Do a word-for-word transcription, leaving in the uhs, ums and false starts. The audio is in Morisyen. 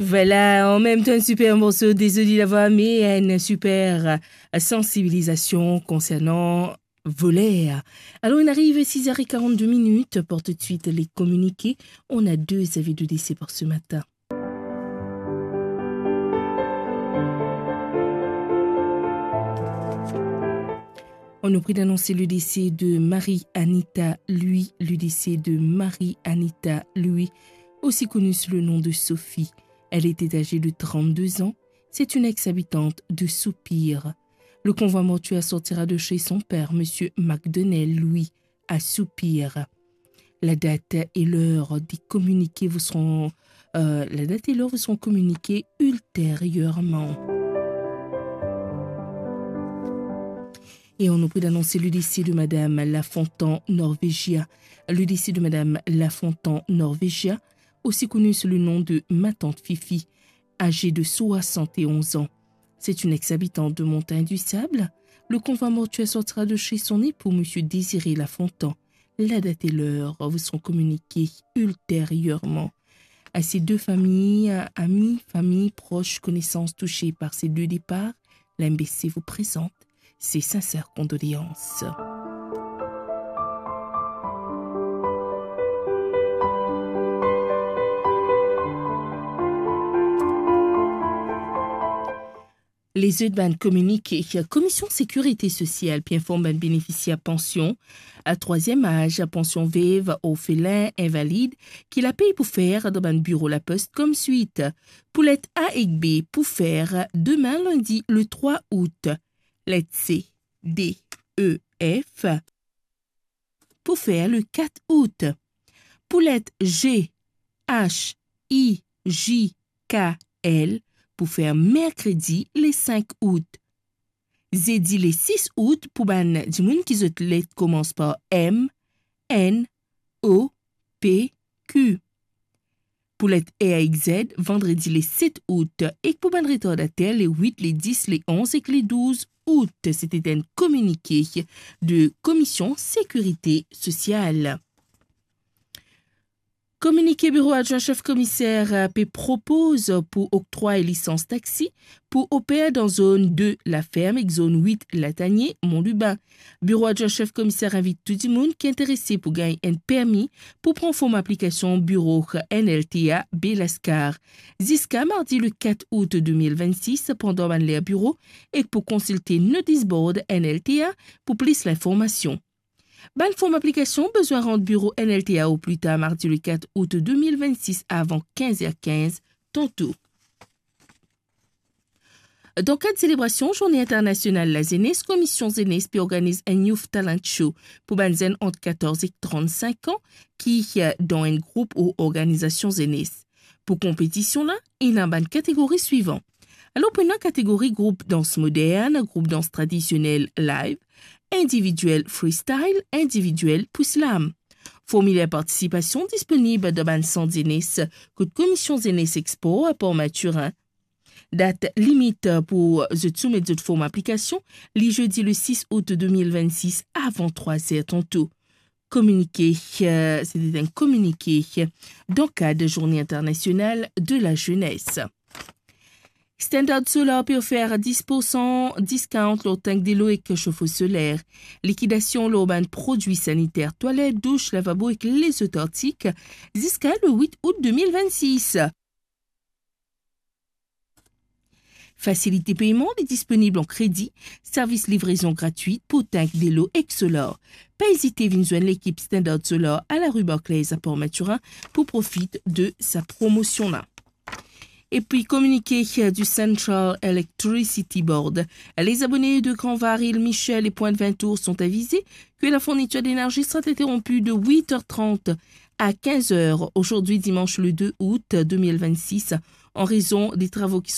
Vwala, an mem tan enn siper morso, dezoli lavwa, me enn siper, euh, sansibilizasion konsernan voler. Alor, inn ariv sis er e karant-de minit, pour tout de suite les communiqués. On a deux avis de décès pour ce matin. On nous prie d'annoncer le décès de Marie Anita Louis, le décès de Marie Anita Louis, aussi connue sous le nom de Sophie. Elle était âgée de trente-deux ans. C'est une ex-habitante de Soupir. Le convoi mortuaire sortira de chez son père, monsieur McDonnell Louis, à Soupir. La date et l'heure des communiqués vous seront, euh, la date et l'heure vous seront communiquées ultérieurement. Et on nous prie d'annoncer le décès de Madame Lafontan Norvegia. Le décès de Madame Lafontan Norvegia, aussi connue sous le nom de Ma Tante Fifi, âgée de soixante et onze ans. C'est une ex-habitante de Montagne du Sable. Le convoi mortuaire sortira de chez son époux, monsieur Désiré Lafontan. La date et l'heure vous seront communiquées ultérieurement. À ces deux familles, amis, familles, proches, connaissances touchées par ces deux départs, l'M B C vous présente ses sincères condoléances. Lezot bann kominike. Komision Sekirite Sosial pe inform bann benefisier pansion a trwaziem az, pansion vev, orfelin, invalid, ki lapey pou fer dan bann biro lapos koumswit. Pou let A ek B, pou fer demin lindi le trwa out. Let C, D, E, F, pou fer le kat out. Pou let G, H, I, J, K, L, pou fer merkredi le sink out. Zedi le sis out pou bann dimoun ki zot let koumans par M, N, O, P, Q. Pou let R ek Z, vandredi le set out, ek pou bann retardater, le wit, le dis, le onz ek le douz out. Se ti enn kominike de Komision Sekirite Sosial. Kominike Biro Adwin Sef Komiser pe propoz pou oktrway lisans taxi pou oper dan zone de Laferm ek zone wit Latanie, Mont Lubin. Biro Adwin Sef Komiser invit tou dimoun ki interese pou gagn enn permi pou pran form aplikasion biro N L T A Baie Lascar ziska mardi le kat out de mil vennsis pandan bann ler biro ek pou konsilte notice board N L T A pou plis linformasion. Bann form aplikasion bizin rant biro N L T A o pli tar mardi le kat out de mil vennsis avan kinz er kinz tanto. Dan kad selebrasion Zourne Internasional Lazenes, Komision Zenes pe organiz enn Youth Talent Show pou bann zenn ant katorz ek trannsink an ki, eh, dan enn group ou organizasion zenes. Pou konpetision la, ena bann kategori swivan. Alor, pou ena kategori group dans modern, group dans tradisionel live, individuel freestyle, individuel pou slam. Formiler partisipasion disponib dan bann sant zenes kot Komision Zenes ek Spor a Port Mathurin. Dat limit pou zot soumet zot form aplikasion, li zedi le sis out de mil vennsis avan trwa zer tanto. Kominike, eh, se ti enn kominike dan kad Zourne Internasional de Lazenes. Standard Solar pe ofer dis poursan discount lor tank delo ek sofo soler. Likidasion lor bann prodwi saniter, twalet, douch, lavabo ek lezot artik ziska le wit out de mil vennsis. Fasilite peyman li disponib an kredi, servis livrezon gratwit pou tank delo ek solar. Pa ezite vinn zwenn lekip Standard Solar a lari Barclays a Port Mathurin pou profit de sa promosion la. Epi kominike du Central Electricity Board. Les abonnés de Grand Var, Île Michel et Pointe Vintour sont avisés que la fourniture d'énergie sera interrompue de huit heures trente à quinze heures aujourd'hui, dimanche le deux août deux mille vingt-six, en raison des travaux qui